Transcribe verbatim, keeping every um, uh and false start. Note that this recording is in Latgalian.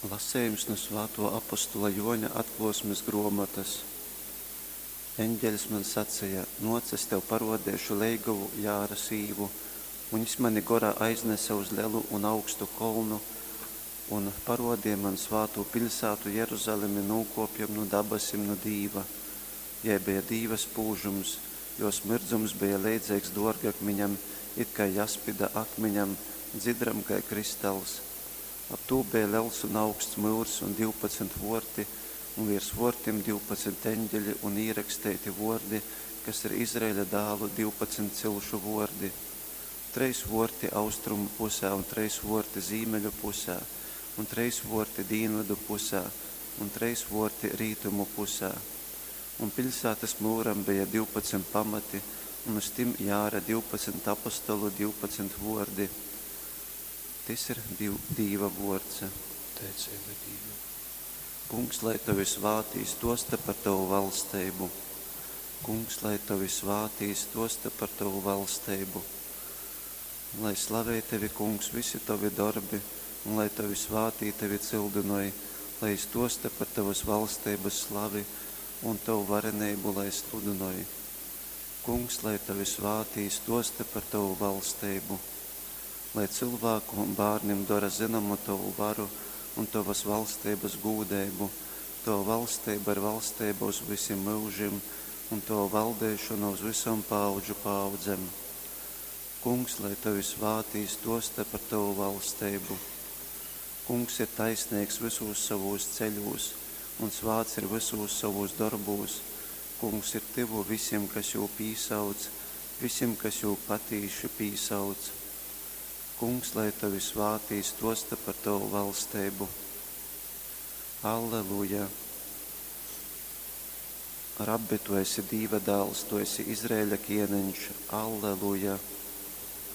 Lasejums nu svātō apostola Jōņa atklōsmes grōmotas. Eņgeļs man saceja: Nōc, es tev parōdeišu leigovu, jāra sīvu. Un jys mani gorā aiznese uz lelu un augstu kolnu un parōdeja man svātū piļsātu Jeruzalemi nūkōpjam nu dabasim nu Dīva. Jai beja Dīva spūžums, jōs myrdzums beja leidzeigs dōrgakmiņam, it kai jaspida akmiņam, dzidram kai kristals. Ap tū beja lels un augsts myurs un divpadsmit vōrti, un viers vōrtim divpadsmit eņgeļi un īraksteiti vōrdi, kas ir Izraeļa dālu divpadsmit cilšu vōrdi. Trejs vōrti austrumu pusē un trejs vōrti zīmeļu pusē, un trejs vōrti dīnvydu pusē, un trejs vōrti rītumu pusē. Un piļsātas myuram beja divpadsmit pamati, un uz tim jāra divpadsmit apostolu divpadsmit vōrdi. Tys ir Dīv, Dīva vōrds. Teiceiba Dīvam. Kungs, lai tovi svātī stōsta par tovu valsteibu. Kungs, lai tovi svātī stōsta par tovu valsteibu. Lai slavej tevi, Kungs, visi tovi dorbi, un lai tovi svātī tevi cyldynoj, lai stōsta par tovas valsteibas slavi un tovu vareneibu lai sludynoj. Kungs, lai tovi svātī stōsta par tovu valsteibu. Lai cylvāku bārnim dora zynomu tovu varu un tovas valsteibas gūdeibu. Tova valsteiba ir valsteiba uz vysim myužim, un tova valdeišona uz vysom paaudžu paaudzem. Kungs, lai tovi svātī stōsta par tovu valsteibu. Kungs ir taisneigs vysūs sovūs ceļūs, un svāts ir vysūs sovūs dorbūs. Kungs ir tyvu visim, kas jū pīsauc, visim, kas jū patīši pīsauc. Kungs, lai tovi svātī stōsta par tovu valsteibu. Alleluja! Rabbi, tu esi Dīva dāls, tu esi Izraeļa kieneņš. Alleluja!